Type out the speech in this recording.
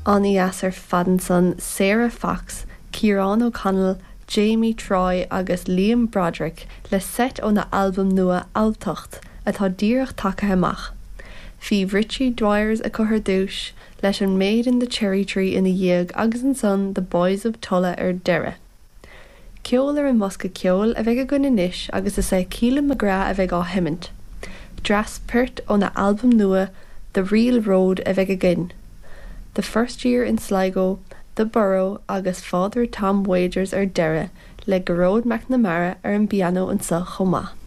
An-dheas ar fad ansan, Sarah Fox, Ciarán O'Connell, Jamie Troy agus Liam Broderick le seit óna albam nua Alltacht atá díreach tagtha amach. Bhí Richie Dwyers acu ar dtús, leis an Maid in the Cherry Tree ina dhiaidh agus ansan The Boys of Tulla ar deireadh. Ceol ar an mbosca ceoil a bheidh againn anois agus is é Keelan McGrath a bheidh á sheimint. Dreas poirt óna albam nua The Real Road a bheidh againn. The First Year in Sligo, The Borough agus Father Tom Wagers ar deireadh le Gearóid McNamara ar an bpianó anseo chomh maith.